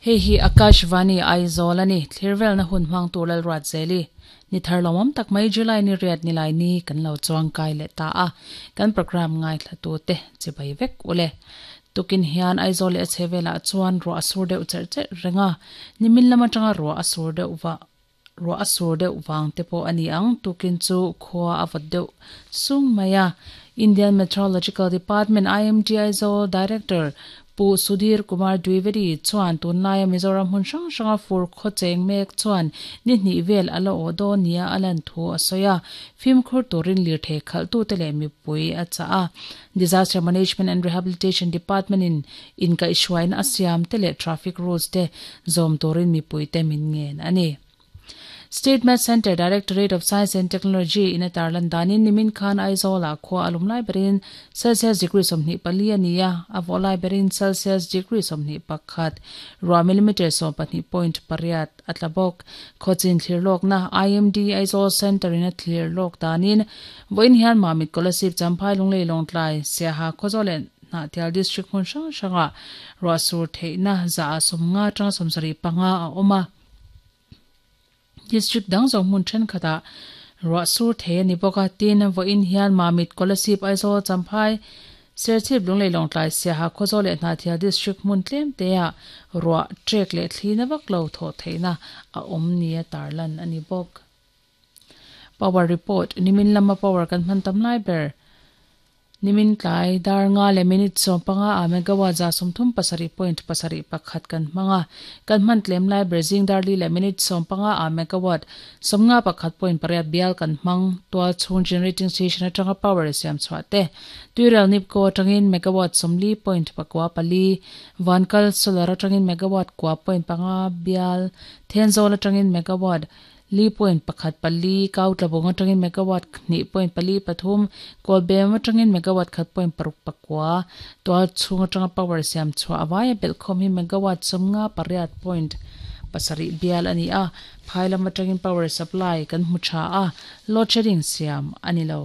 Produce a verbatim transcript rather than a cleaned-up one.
Hei hi Akashvani Aizawl ani thlirvel na hun hmang tur lal ruat zeli ni thar lomom tak mai July ni riat ni lai ni kan lo chuang kai le ta a kan program ngai thla tu te chibai vek ule tukin hian Aizawl le chevela chuan ro asur deuh cher cher renga nimin lama tanga ro asur deuh wa ro asur deuh wang te po ani ang tukin chu khwa awat deuh sung maya Indian Meteorological Department I M D Aizawl Director Pu Sudhir Kumar Dwivedi chuan tunlaia Mizoram hun hrang hranga fur khaw cheng mek chuan ni hnih vel ala aw dawn nia a lan thu a sawi a fimkhur turin lir thei khalh tu te leh mipui a chah a Disaster Management and Rehabilitation Department in inkaihhruaina a siam te leh traffic rules te zawm turin mipui te min ngen ani. State Met Center Directorate of Science and Technology in a tarlan danin nimin khan Aizawl ah khua alum lai berin Celsius degree sawmhnih pali ania a vaw lai berin Celsius degree sawmhnih pakhat ruah millimeter sawm pahnih point pariat atla bawk khawchin thlir lawk na I M D Aizawl Center in a thlir lawk danin vawiin hian Mamit Kolasib Champhai Lunglei Lawngtlai Siaha Khawzawl leh Hnahthial District hmun hrang hranga ruah sur theihna za a sawmnga tanga sawmsarih panga a awm a. District dang zawng hmun thenkhatah ruah sur thei ani bawk a tin vawiin hian Mamit Kolasib Aizawl Champhai Serchhip Lunglei Lawngtlai Siaha Khawzawl leh Hnahthial District hmun tlem te ah ruah trek leh thlina vak lo thawh theihna a awm nia tarlan ani bawk. Power report nimin lama power kan hman tam lai ber nimin tlai dar nga le minute sawm panga a megawatt za sawmthum pasarih point pasarih pakhat kan hmanga kan hman tlem lai ber zing dar li le minute sawm panga a megawatt sawmnga pakhat point pariat bial kan hmang tual chhung generating station atanga power siam chhuah te tuirel nipko atangin megawatt sawmli point pakua pali vankal solar atangin megawatt kwa point panga bial thenzawl atangin megawatt li point pakhat pali kautlabong atangin megawatt hnih point pali pathum kawlbem atangin megawatt khat point paruk pakua tual chhung atanga power siam chhuah awaia belhkhawm hi megawatt sawmnga pariat point pasarih bial ani a phailam atangin power supply kan hmu tha a load shedding siam ani lo.